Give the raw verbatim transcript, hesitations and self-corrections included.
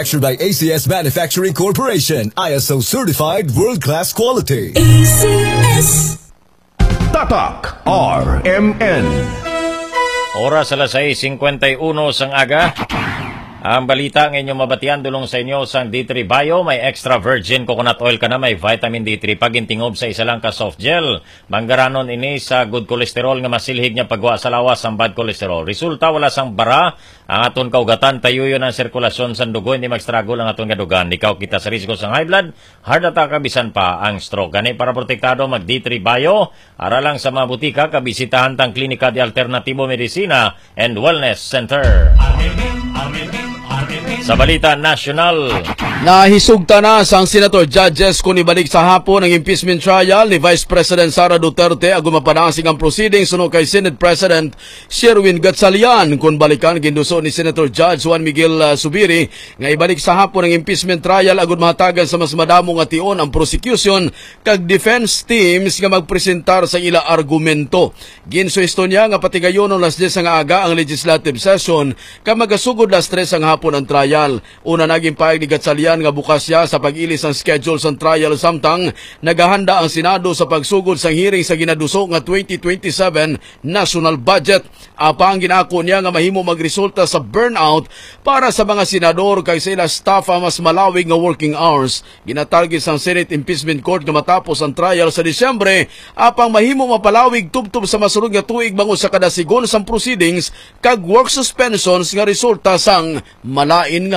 Manufactured by A C S Manufacturing Corporation, I S O certified world-class quality. A C S. Tatak R M N. Oras alas sais cincuenta y uno sang aga. Ang balita nga inyo mabatian dulong sa inyo sang D three Bio, may extra virgin coconut oil ka na, may vitamin D three, pagintingob sa isa lang ka soft gel. Manggaranon ini sa good cholesterol nga masilhig niya pagwa sa lawas ang bad cholesterol. Resulta, wala sang bara ang aton kaugatan, tayuyon ang sirkulasyon sang dugo, hindi mag-struggle ang aton kadugan. Ikaw kita sa risgo sang high blood, heart attack, kag bisan pa ang stroke. Gani, para protektado, mag D three Bio. Ara lang sa mga butika, kabisitahan tang Klinika de Alternatibo Medicina and Wellness Center. Sa balita nasyonal, nahisugta na sang Senator Judges kon ibalik sa hapon ang impeachment trial ni Vice President Sara Duterte agud mapadasig ang proceedings suno kay Senate President Sherwin Gatchalian. Kon balikan, ginduso ni Senator Judge Juan Miguel, ah, Subiri nga ibalik sa hapon ang impeachment trial agud mahatagan sa mas madamo nga tion ang prosecution kag defense teams nga magpresentar sa ila argumento. Ginsuhesto niya nga patigayonon las diyes nga aga ang legislative session kag magasugod las tres ang hapon ang trial. Una, naging pahayag ni Gatchalian nga bukas siya sa pag-ilis sang schedule sang trial, samtang nagahanda ang Senado sa pagsugod sang hearing sa ginaduso nga twenty twenty-seven national budget. Apang ginaako niya nga mahimo magresulta sa burnout para sa mga senador kag sa ila staff ang mas malawig nga working hours. Ginatarget sang Senate Impeachment Court nga matapos ang trial sa Disyembre, apang mahimo mapalawig tubtob sa masunod nga tuig bangod sa kada sigon sang proceedings kag work suspensions nga resulta sang malain nga